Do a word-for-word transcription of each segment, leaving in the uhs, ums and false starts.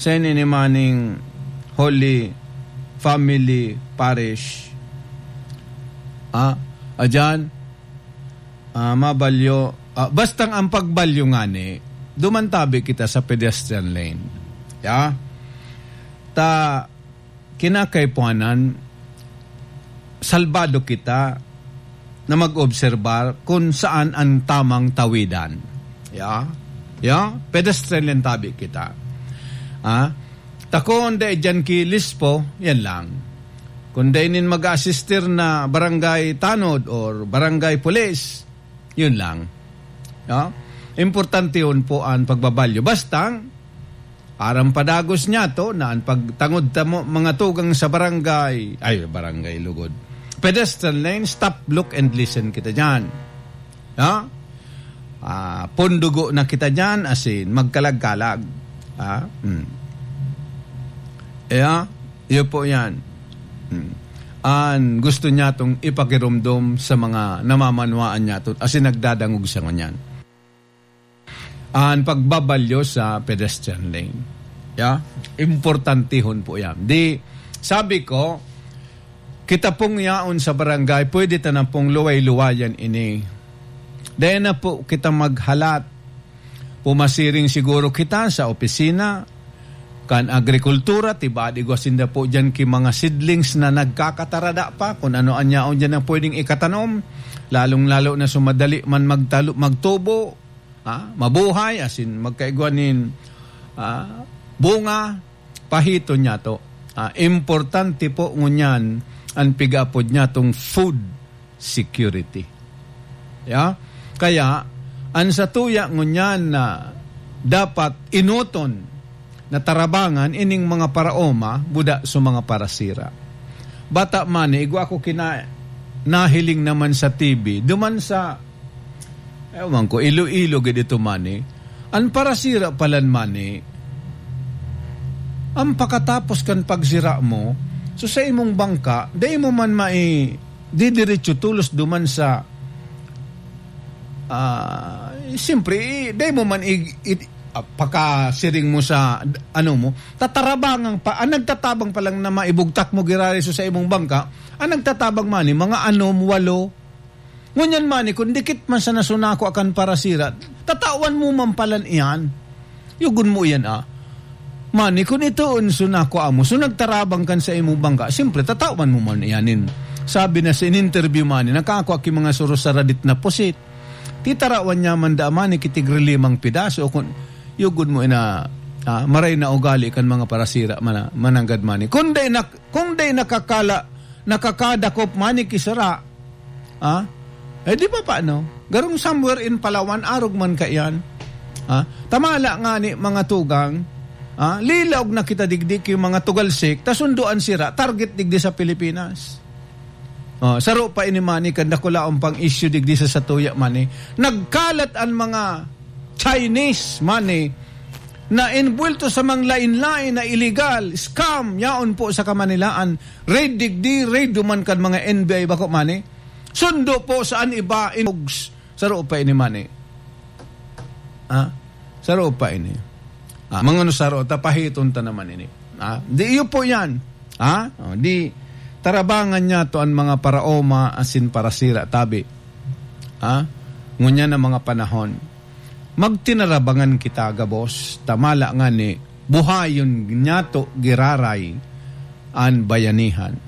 Sa ini ni maning Holy Family Parish. Ah, adyan, ah, mabalyo, ah, bastang ang pagbalyo ngani, duman tabi kita sa pedestrian lane. Ya? Ta, kinakaipuhanan, salbado kita na mag-obserbar kung saan ang tamang tawidan. Ya? Ya? Pedestrian lang tabi kita. Ah? Ta kun dai dyan ki Lispo, yan lang. Kun dai nin mag-aasistir na barangay tanod or barangay pulis, yun lang. Ya? Importante yun po ang pagbabalyo. Basta, aram padagos niya to na ang pagtangod ta mo, mga tugang sa barangay, ay, barangay lugod. Pedestrian lane, stop, look, and listen kita dyan. Ha? Ah, pundugo na kita dyan, as in, magkalag-kalag. Ha? Hmm. Kaya, iyo po yan. Hmm. An gusto niya tong ipakirumdom sa mga namamanwaan niya to, as in, nagdadangog siya ngunyan. An pagbabalyo sa pedestrian lane. Ya? Importantihon po yan. Di, sabi ko, kita pong yaon sa barangay, pwede ta na pong luway-luwayan ini. Dahil na po kita maghalat. Pumasiring siguro kita sa opisina, kan agrikultura, tiba di gwa sinda po dyan ki mga seedlings na nagkakatarada pa, kung ano an yaon dyan ang pwedeng ikatanom, lalong-lalo na sumadali man magtalo-, magtubo, ah, mabuhay, as in, magkaigwa nin, ah, bunga, pahiton niya to. Ah, importante po ngunyan an pig-apod niya tong food security. Ya? Kaya, an satuya ngunyan na dapat enoton na tarabangan ining mga paraoma, buda sa mga parasira. Bata man, igwa ko kina-, nahiling naman sa T V, duman sa Ewan ko, Iloilo gid ito, mani. An parasira palan, mani, ang pakatapos kan pagsira mo, so sa imong bangka, dai mo man mai-, didiretso tolos duman sa, ah, siyempre, i-, dai mo man i-, i-, ah, pakasiring mo sa, ano mo, tatarabangan pa, ang nagtatabang pa lang na maibugtak mo giraray so sa imong bangka, ang nagtatabang, mani, mga anom, walo, Ngunyan, mani, kun dikit man sana sunako akan parasira, tatawan mo man palan iyan. Yugon mo iyan, ah. Mani, kun ito an sunako amo, so nagtarabang kan sa imong bangka, siyempre, tatawan mo man iyanin. Sabi na sa in-interview, mani, nakakua ki mga surusaradit na pusit. Titarawan niya man da, mani, ki tigri limang pidaso, o kun, yugon mo ina, ah, maray na ugali kan mga parasira, mana-, mananggad, mani. Kun dai nak-, kun dai nakakala, nakakadakop, mani, ki sara, Ah? Eh, di ba paano? Garong somewhere in Palawan, arog man kaiyan. Ah? Tamala nga ni mga tugang, ah? Lilaog na kita digdi ki mga tugalsik, ta sundo an sira, target digdi sa Pilipinas. Oh, saro pa ini, mani, kan dakulaon pang issue digdi sa satuya, mani. Nagkalat an mga Chinese, mani, na inbuwelto sa mga lain-lain na illegal, scam, yaon po sa Kamanilaan. Raid digdi, raid duman kan mga N B I bako, mani. Sundo po sa an iba, in-, saro pa ini, mani. Ah? Saro pa ini. Ah, mga no saro, tapahiton ta naman ini. Ah, di iyo po yan. Ah? Oh, di, tarabangan niya to an mga paraoma asin parasira, tabi. Ah? Ngunyan na mga panahon. Magtinarabangan kita gabos, tamala ngani, buhayon niyato giraray an bayanihan.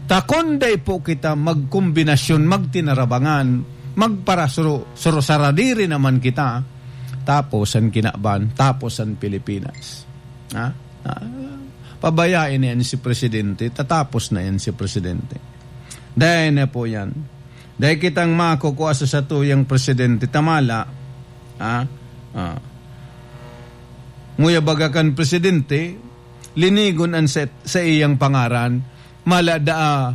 Ta kun dai po kita magkombinasyon, magtinarabangan, magparasuro-, surusaradiri naman kita, tapos an kinaban, tapos an Pilipinas. Ha? Ah, pabayai na yan si Presidente, tatapos na yan si Presidente. Dai na po yan. Dai kitang makukua sa satuyang presidente, tamala, ah, ah, nguya baga kan presidente, linigon an sa, sa iyang pangaran, mala daa,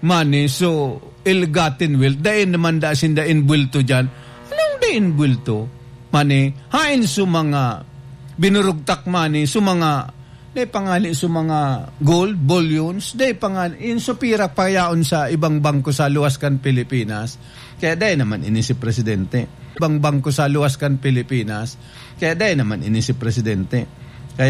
mani, so, ill-gotten wealth, dai naman da sinda inbuwelto diyan. Anong dai inbuwelto? Mani, hain so mga binurugtak, mani, so mga Dai pa ngani sa mga gold, bullions, dai pa ngani, in supira pa yaon sa ibang bangko sa luwas kan Pilipinas. Kaya dai naman ini si Presidente. Ibang bangko sa luwas kan Pilipinas. Kaya dai naman ini si Presidente. Kaya